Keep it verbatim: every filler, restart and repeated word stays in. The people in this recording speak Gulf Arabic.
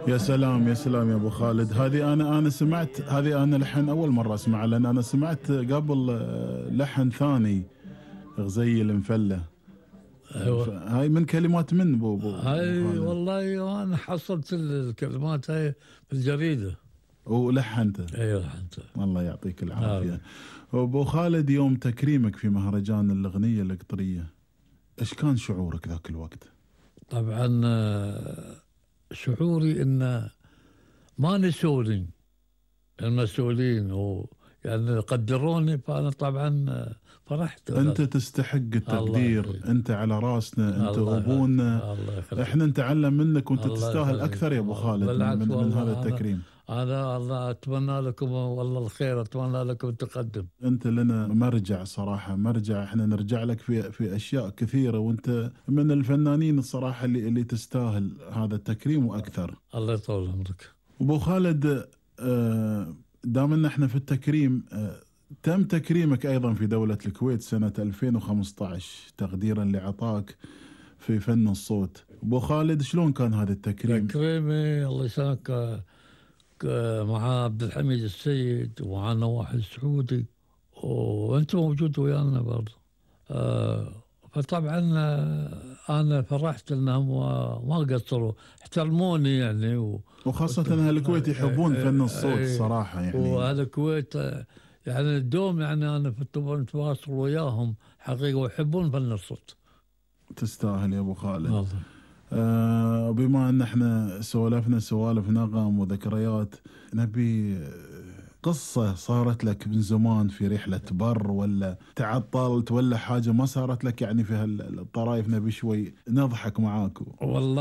يا سلام يا سلام يا ابو خالد، هذه انا انا سمعت، هذه انا لحن اول مره اسمعها، لان انا سمعت قبل آه، لحن ثاني غزي المفله. ايوه. هاي من كلمات من ابو ابو أبو هاي خالد؟ والله انا حصلت الكلمات هاي في الجريده. ولحنته. ايوه انت. الله يعطيك نعم. العافيه. ابو خالد، يوم تكريمك في مهرجان الاغنيه القطريه، ايش كان شعورك ذاك الوقت؟ طبعا آه، شعوري ان ما نسوني المسؤولين، ويعني قدروني، فانا طبعا آه، فرحت. انت تستحق الله التقدير، يخليك. انت على راسنا، انت الله يخليك. ابونا. الله يخليك. احنا نتعلم منك، وانت الله تستاهل يخليك. اكثر يا ابو خالد من, بالعكس من, من هذا والله، انا التكريم. انا الله اتمنى لكم والله الخير، اتمنى لكم التقدم. انت لنا مرجع صراحه، مرجع، احنا نرجع لك في في اشياء كثيره، وانت من الفنانين الصراحه اللي اللي تستاهل هذا التكريم واكثر. الله يطول عمرك. ابو خالد، آه، دام ان احنا في التكريم، آه، تم تكريمك ايضا في دوله الكويت سنه ألفين وخمسة عشر تقديرا لعطاك في فن الصوت. ابو خالد، شلون كان هذا التكريم؟ تكريمي الله يسلمك آه، ك- مع عبد الحميد السيد ومع نواح السعودي، وانت موجود ويانا برضه. آه فطبعا آه انا فرحت انهم ما قصروا، احترموني يعني و... وخاصه وت- اهل الكويت آه، يحبون آه، فن الصوت آه، صراحه يعني. واهل الكويت آه، يعني الدوم، يعني انا في التواصل وياهم حقيقه، ويحبون فن الصوت. تستاهل يا ابو خالد. والله. آه، بما ان احنا سولفنا سوالف نغم وذكريات، نبي آه، قصة صارت لك من زمان في رحلة بر، ولا تعطلت، ولا حاجة ما صارت لك يعني في هالطرايف، نبي شوي نضحك معاك. والله